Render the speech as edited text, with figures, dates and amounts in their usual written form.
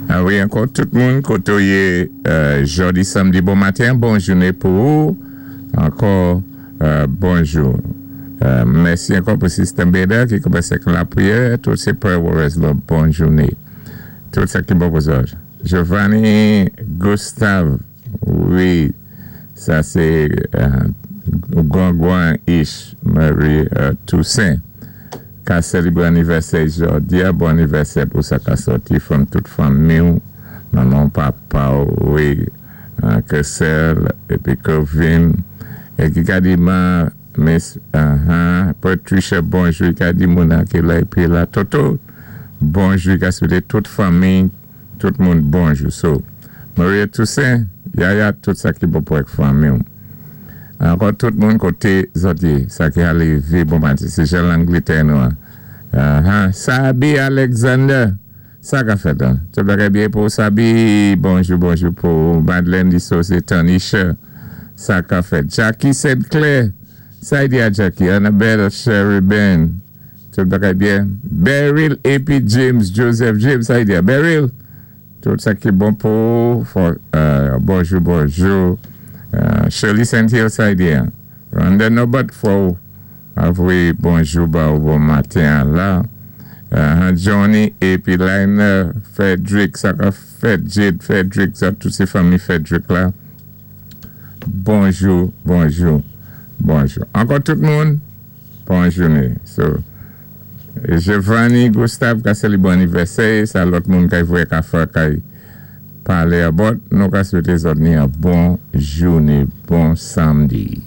A wi, ankò tout moun koté yé jòdi sanmdi, bon maten, bon jouné pou ou. Ankò bonjou. Mèsi ankò pou Sister Beda ki kòmansé ak lapriyè. Tout sé prayer warriors la, bon jouné. Tout sa ki bon pou zòt. Giovanni Gustave, wi, sa sé gran Ish Marie Toussaint ka sélébwé anivèsè jòdi a. Bon anivèsè pou sa ka sòti from tout fanmi, manman, papa, wi, Kessel épi Kevin é ki ka di ma Miss Patricia, bonjou, ka di Mona ki la épi la Toto, bonjou, ka swété tout fanmi, tout moun bonjou. So Maria Toussaint, Yaya, tout sa ki bon pou ak fanmi. Ankò tout moun koté zòt yé, sa ki alé vi bon maten, sé jan Langlétè nou. Sabi Alexander, sa ka fèt, hein? Tout bagay byen pou Sabi, bonjou, bonjou pou Madeleine Dissosé, Tanisha, sa ka fèt. Jackie St. Clair, sa di a Jackie, Annabelle Sheridan, tout bagay byen. Beryl épi James Joseph James, sa di a Beryl, tout sa ki bon pou bonjou, bonjou. Shirley St. Hill, sa di a. Rhonda Nobot, fò avoyé bonjou, ba ou bon maten la. Johnny épi Liner Frederick, sa ka fèt, Jade Frederick, sa tout sé fanmi Frederick la. Bonjou, bonjou, bonjou. Ankò tout moun, bon jouné. So, Giovanni Gustave ka sélébwé anivèsè, sa lòt moun kay voyé ka fè kay palé about, nou ka swété zòt ni yon bon jouné, bon sanmdi.